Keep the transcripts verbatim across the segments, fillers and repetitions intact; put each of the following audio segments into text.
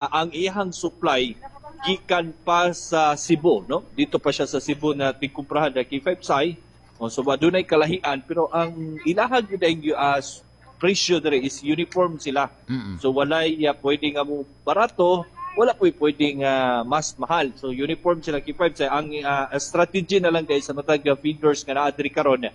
Ang iyang supply gikan pa sa Cebu, no? Dito pa siya sa Cebu na tigkumprahan na K five Sai. O, so adunay kalahian, pero ang ilahag gyud ang uh, presyo dire is uniform sila. Mm-mm. So walay uh, pwede nga mo barato, wala po pwedeng uh, mas mahal. So uniform sila, K five Sai. Ang uh, strategy na lang guys sa matag uh, vendors nga naa diri karon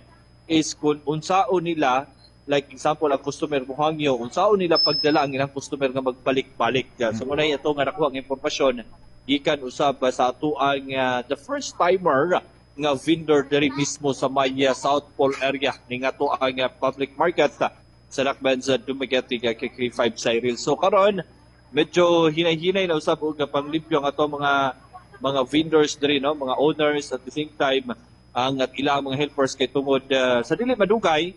is kung unsaon nila, like example, ang customer mo hangyo, unsaon nila pagdala ang ilang customer nga magbalik-balik. So muna ito nga nakuha ang impormasyon gikan usab sa atuang uh, the first timer nga vendor diri mismo sa may uh, South Pole area ning ato ang uh, public market uh, sa Dakbayan sa Dumaguete, uh, kay K five Cyril. So karon medyo hinay-hinay na usab og panglimpyo ang ato mga mga vendors diri, no, mga owners, at the same time ang at ilang mga helpers, kay tungod uh, sa dili madugay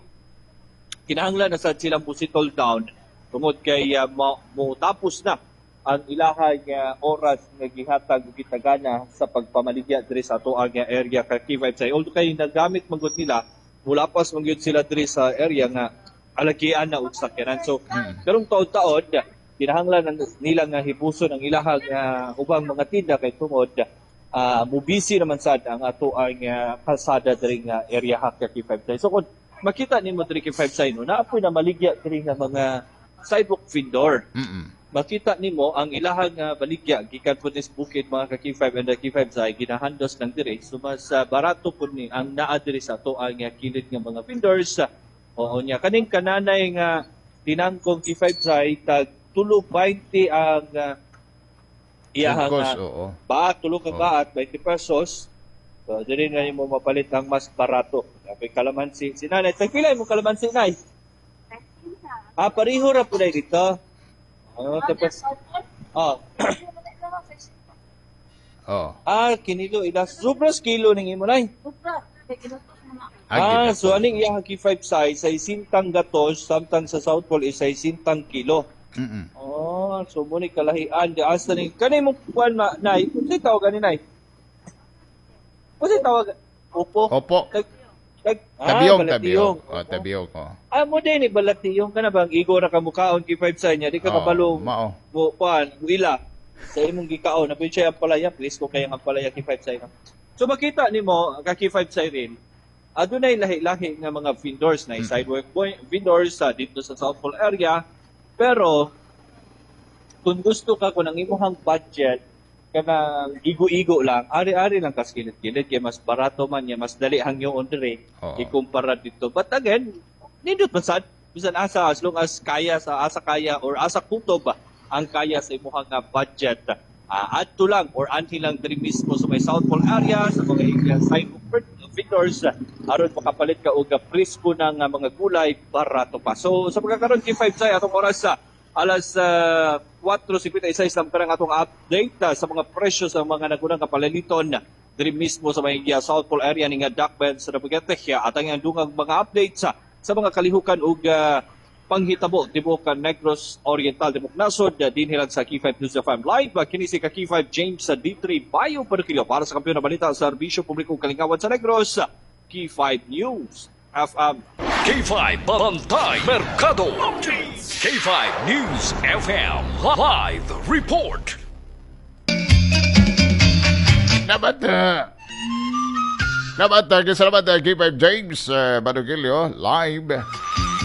kinahanglan na sad silang settle down tungod kay uh, mo, mo tapos na ang ilahang uh, oras nga gihatag ug gitagana sa pagpamaligya diri sa ato ang area, ka K five say. Although kay nagamit man gud nila, mulapas man gyud sila diri sa area nga alagian na og sakyanan. So karong taon-taon kinahanglan na nila nga hibuson ang ilahang uh, ubang mga tinda kay tungod uh, mubisi naman sad ang ato ang uh, kalsada diri nga area ha, ka K five say. So kung makita nimo diri, K five say, no, naa poy na maligya diri nga mga sidewalk vendor. Mm-mm. Makita nimo ang ilahang uh, baligya gikan po nis bukid, mga ka K five and the K five say, ginahandos lang diri. So mas uh, barato po ni ang naa diri sa ato ang uh, kilid nga mga vendors. Oo niya, kaning kananay nga tinangkong, K five say, tag tulo twenty ang uh, iyahang Of course, uh, oo. Baat, tulo ka Oh. baat, twenty pesos. So diri na nimo mapalit ang mas barato. Apay kalamansi si nanay. Tag pila mo kalamansi, nay? Ah, pareho ra po dito. Oh, tapos oh, Oh. Ah, kinilo ila sobras kilo ning imo, nay. Ah, so aning iya K five size ay sintang gatos, samtang sa South Pole is ay sintang kilo. Mm-mm. Oh, so mo ni kalahian di asa ni kani mo kuan ma nay, unsay tawag ani, nay? Unsay tawag? Opo. Opo. Kag, kag, ah, Tabiyong, balatiyong. tabiyong. Oh, tabiyong. Oh. Ah, mo din ni balatiyong ka na bang igo ra ka mukaon, K five sa niya, di ka Oh, kabalo mao. mo kuan, ila sa imong gikaon na siya ang palaya, please ko kaya ang palaya, K five sa imo. So makita nimo ka K five sa rin, adunay lahi-lahi nga mga vendors na sidewalk boy, vendors sa dito sa South Pole area, pero kung gusto ka, kung ang imong budget kanang igo-igo lang, ari-ari lang kas kilid-kilid kay mas barato man niya, mas dali hangyoon diri Oo. ikumpara dito. But again, nindot man sad bisan asa, as long as kaya sa asa kaya or asa kutob ba ang kaya sa imuhang nga budget. Uh, adto lang or anhi lang diri mismo sa may South Pole area sa mga uh, sidewalk vendors aron makapalit ka og presko ng uh, mga gulay, barato pa. So sa pagkakaroon, K five say, atong oras sa alas uh, kwatro singkwenta y sais lang karang atong update uh, sa mga presyo sa mga nagunang kapalaliton diri mismo sa may uh, South Pole area ning uh, Dakbayan sa Dumaguete, at ang dungang mga updates sa sa mga kalihukan ug uh, panghitabo tibuok ka Negros Oriental, tibuok nasod, uh, dinhi lang sa K five News F M Live. Uh, kini si ka K five James sa D three Bayo Perquillo para sa kampiyon na balita, serbisyo publiko, kalingawan sa Negros, K five News F M. K five Bantay Merkado. K five News F M Live Report. Dapat, uh, dapat, uh, salamat uh, K five James uh, Manugilio, live.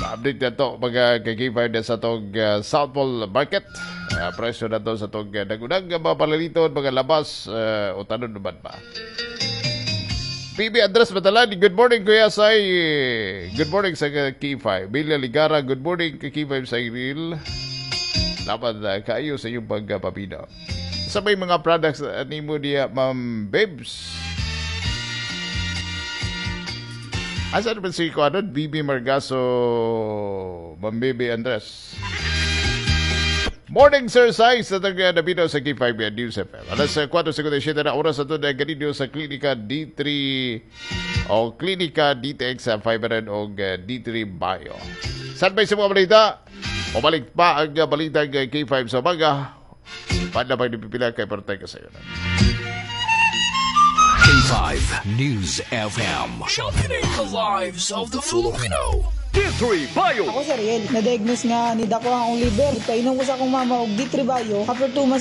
Update na to mga kay K five na sa tong uh, South Pole Market. Uh, presyo na to sa tong uh, nagunang mga palaliton, mga labas, uh, o tanon naman ba? P B Andres Matalan, good morning, Kuya Sai. Good morning sa K five. Bilya Ligara, good morning kay K five Cyril. Dapat uh, kayo sa iyong pagpapina. Sa may mga products uh, nimo diya, Ma'am Babes. Asa naman si Kuano, B B Margaso, Ma'am B B Andres. Morning, Sir Sai, sa taga Nabino sa K five News F M. Alas kwatro singkwenta y siyete na oras ato na ganito sa Klinika D three o Klinika D T X sa five hundred o D three Bio. Saan ba sa mga balita? Pabalik pa ang balita ng K five sa umaga. Paano ba pipila kay Partay ka sa'yo? K five News F M. Championing the lives of the Filipino. D three Bio. Ako si Ariel, na-diagnose nga ni dako ang akong liver. Painom ko sa akong mama og D three Bio. After two months